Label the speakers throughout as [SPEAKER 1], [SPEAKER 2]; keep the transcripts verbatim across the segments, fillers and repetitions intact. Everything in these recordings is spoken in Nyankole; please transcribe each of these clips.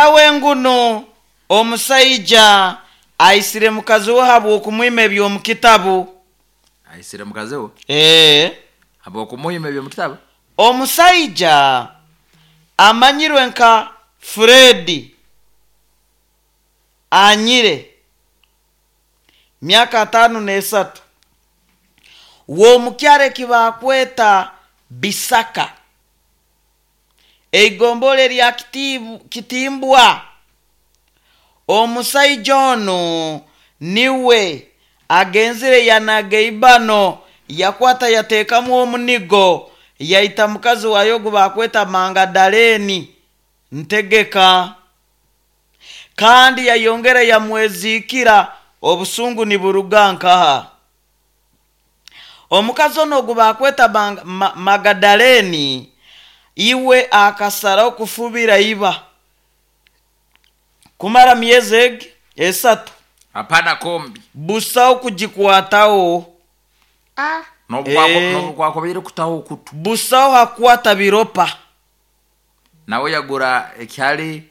[SPEAKER 1] Wengunu omusaija aisire mukazi we habw'okumwima eby'omu kitabu.
[SPEAKER 2] Aisire mukazi we?
[SPEAKER 1] Ee.
[SPEAKER 2] Habw'okumuhima eby'omu kitabu?
[SPEAKER 1] Omusaija amanyirwe nka Fred Anyire, myaka ataano n'esatu, w'omukyaro eki baakweta Bisaka, eigombolola erya Kitibu- Kitimbwa. Omusaija onu niwe agenzire yanaga eibano, yakwata yateekamu omunigo, yaita mukazi wayo ogu baakweta Mangadaleni Ntegeka, kandi yayongera yamweziikira. Obusungu niburuga nkaha? Omukazi ono ogu baakweta Mang- Ma- Magadaleni iwe akasaraho kufubira iba kumara myezi egi esatu.
[SPEAKER 2] Hapana kombi.
[SPEAKER 1] Busaho kugikwataho. Eh.
[SPEAKER 2] N'obukwakubaire kutaho okutu.
[SPEAKER 1] Busaho hakwata biropa.
[SPEAKER 2] Nawe yagura ekyali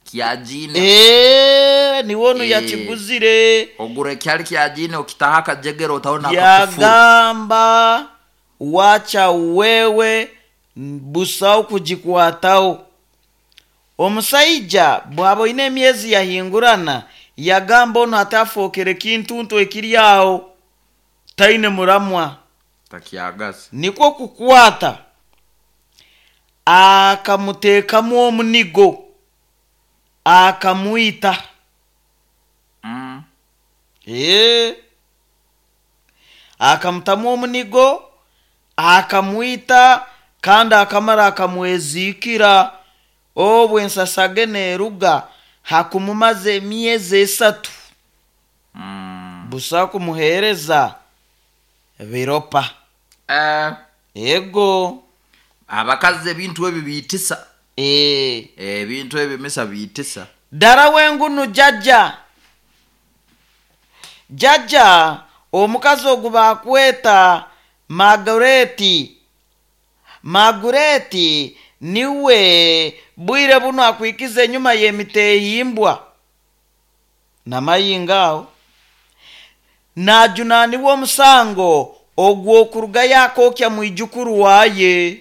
[SPEAKER 2] kya jiini.
[SPEAKER 1] Eh, niwe onu
[SPEAKER 2] Eh.
[SPEAKER 1] yakiguzire.
[SPEAKER 2] Ogura ekyali kya jiini, okitaho akajegere, otaho n'akakufuru.
[SPEAKER 1] Yagamba, wacha wewe, busaho kugikwataho. Omusaija bwaba oine emyezi yahingurana, yagamba onu hatafookere kintuntu ekiri aho taine muramwa.
[SPEAKER 2] Takyagaza.
[SPEAKER 1] Nikwo kukwata akamuteekamu omunigo, akamwita.
[SPEAKER 2] Mm.
[SPEAKER 1] Ee, akamutamu omunigo akamwita, kandi akamara akamweziikira. Obwo ensasage neeruga hakumumaza emyezi esatu.
[SPEAKER 2] Mm.
[SPEAKER 1] Busa kumuheereza biropa.
[SPEAKER 2] Eh,
[SPEAKER 1] ego.
[SPEAKER 2] Abakazi ebintu ebi biitisa.
[SPEAKER 1] Ee.
[SPEAKER 2] Ebintu ebi misa biitisa.
[SPEAKER 1] Ddala wengunu jjajja jjajja omukazi ogu baakweta Magureti. Magureti niwe bwire buno akwikiza enyuma y'emiteehimbwa namayinga aho najunaanibwa omusango ogw'okuruga yakookya mwijukuru waaye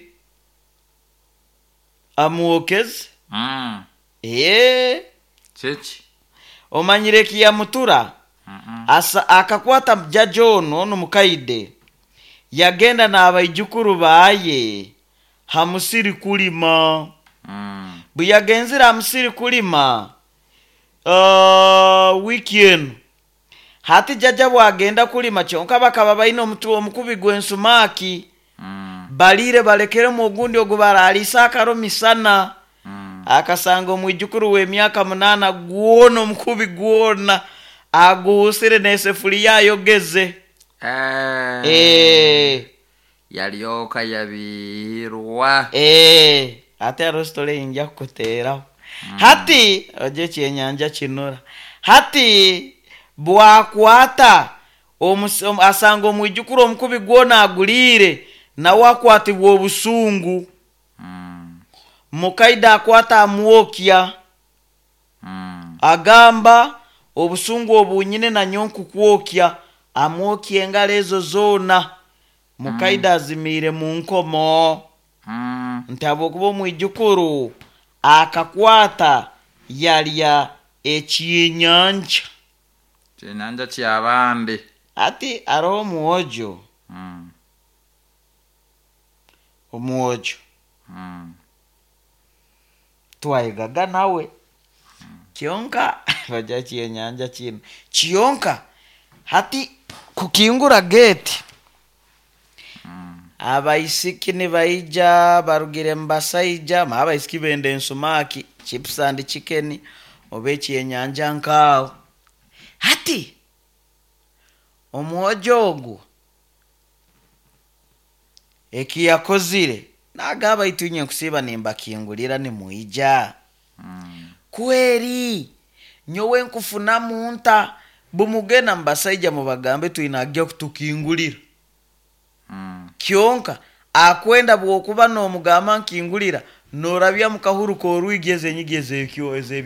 [SPEAKER 1] amwokeze.
[SPEAKER 2] Mm.
[SPEAKER 1] Ee.
[SPEAKER 2] Kiki?
[SPEAKER 1] Omanyire ekiyamutura?
[SPEAKER 2] Mm-mm.
[SPEAKER 1] Asa akakwata jjajja ono ono mukaide, yagenda n'abaijukuru baaye ha musiri kulima.
[SPEAKER 2] Mm.
[SPEAKER 1] Bwe yagenzire ha musiri kulima, uh, wiiki eno hati jjajja bwagenda kulima, kyonka bakaba baine omutu omukubi gw'ensumaaki.
[SPEAKER 2] Mm.
[SPEAKER 1] Baliire balekeremu ogundi ogu baraliisa akaro misana.
[SPEAKER 2] Mm.
[SPEAKER 1] Akasanga omwijukuru w'emyaka munaana gwona omukubi gwona aguhusire n'esefuriya ayogeze.
[SPEAKER 2] Eh.
[SPEAKER 1] Eh.
[SPEAKER 2] Yalyoka yabiirwa.
[SPEAKER 1] Eh, ate hariho story eyinja kukuteeraho hati ogye ekyenyanja kinura. Hati bwakwata omus- om- asanga omwijukuru omukubi gwona aguliire, nawe akwatibwa obusungu.
[SPEAKER 2] Mm.
[SPEAKER 1] Mukaida akwata amwokya.
[SPEAKER 2] Mm.
[SPEAKER 1] Agamba, obusungu obunyine nanyo nkukwokya. Amwokya engalo ezo zoona. Mukaida azimiire mu nkomo.
[SPEAKER 2] Mm.
[SPEAKER 1] Nti habwokuba omwijukuru akakwata yalya ekyenyanja.
[SPEAKER 2] Kyenyanja kyabandi.
[SPEAKER 1] Ati hariho omwojo.
[SPEAKER 2] Mm.
[SPEAKER 1] Omwojo.
[SPEAKER 2] Mm.
[SPEAKER 1] Twayegaga nawe, kyonka bajja kyenyanja kino kyonka hati kukingura geeti, abaisiki nibaija barugire mu basaija ma abaisiki benda ensumaki, chips and chicken oba ekyenyanja nkaawo. Hati omwojo ogwo ekiyakozire, nagamba, itu inye nkusiiba nimbakingulira nimwija.
[SPEAKER 2] Mm.
[SPEAKER 1] Kweri nyowe nkufunamu nta bumugenda mubasaija mubagambe twinagya kutukingulira.
[SPEAKER 2] Mm.
[SPEAKER 1] Kyonka akwenda bwokuba n'omugamba nkingulira, norabya mukahuru k'orwigi ezenyigi ezekyo ezebyo.